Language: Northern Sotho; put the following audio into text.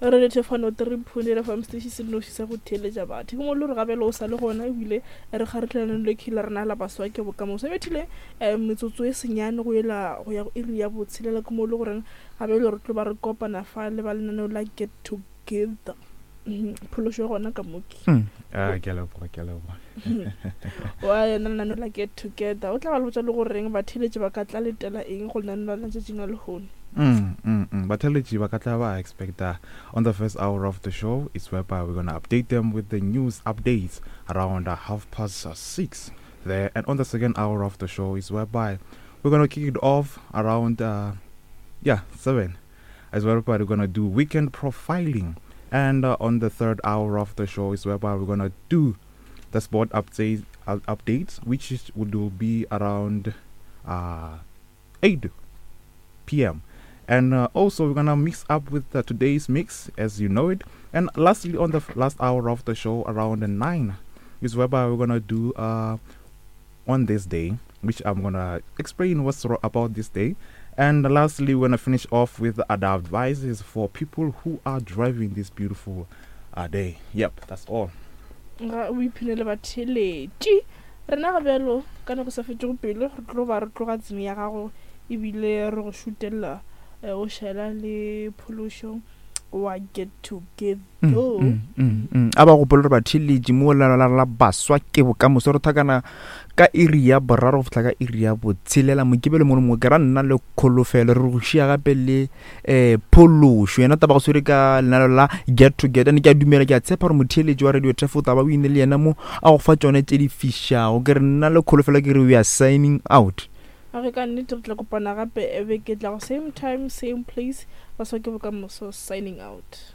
Re Thefano 3.8 FM station se nnoši sa go theeletša batho. Ke mo le gore gabele o sa le gona ebile re kgaretlelane le khila rena la baswa ke bokamoso. E bethile eh, metsotso e senyane go ela go ya go iri ya botshelela ke mo le goreng gabele re tlo ba re kopana fa le ba lenaneo la Get Together. Mhm, Phološo e gona ka moki. Ah, ke a leboga, ke a leboga. Wa yena lenaneo la Get Together. O tla ba le botša le goreng batheeletši ba ka tla letela eng go lenaneo la letšatšing la lehono. Mm, mm, mm. Batheletši ba ka tla ba expecta on the first hour of the show is whereby we're gonna update them with the news updates around 6:30 there, and on the second hour of the show is whereby we're gonna kick it off around 7, as well whereby we're gonna do weekend profiling, and on the third hour of the show is whereby we're gonna do the sport updates, which will be around 8 p.m. And also we're gonna mix up with today's mix as you know it. And lastly, on the last hour of the show around 9 is whereby we're gonna do on this day, which I'm gonna explain what's about this day. And lastly, we're gonna finish off with other advices for people who are driving this beautiful day. Yep, that's all. Ga o iphine le batheeletši. Rena ga bjalo ka nako sa fetšego pelo re tlo ba re tloga tseng ya gago ebile re go šutelela o šaela le phološo wa Get Together. A ba gopole gore batheeletši mo la la la baswa ke bokamoso re thakana ka iri ya boraro go fihla ka iri ya botshelela mokibelo mongwe le mongwe ke ra nna le kholofelo re go šia gape le um phološo yena taba go swere ka lenalo la Get Together. Ne ke a dumela, ke a tshepa gore motheeletši wa Radio Turf o taba o ine le yena mo a go fa tšone tše di fišago. Ke re nna le kholofelo ke re we are signing out. A re ka nnete re tla kopana gape beke e tlago same time same place. Baswa ke bokamoso signing out.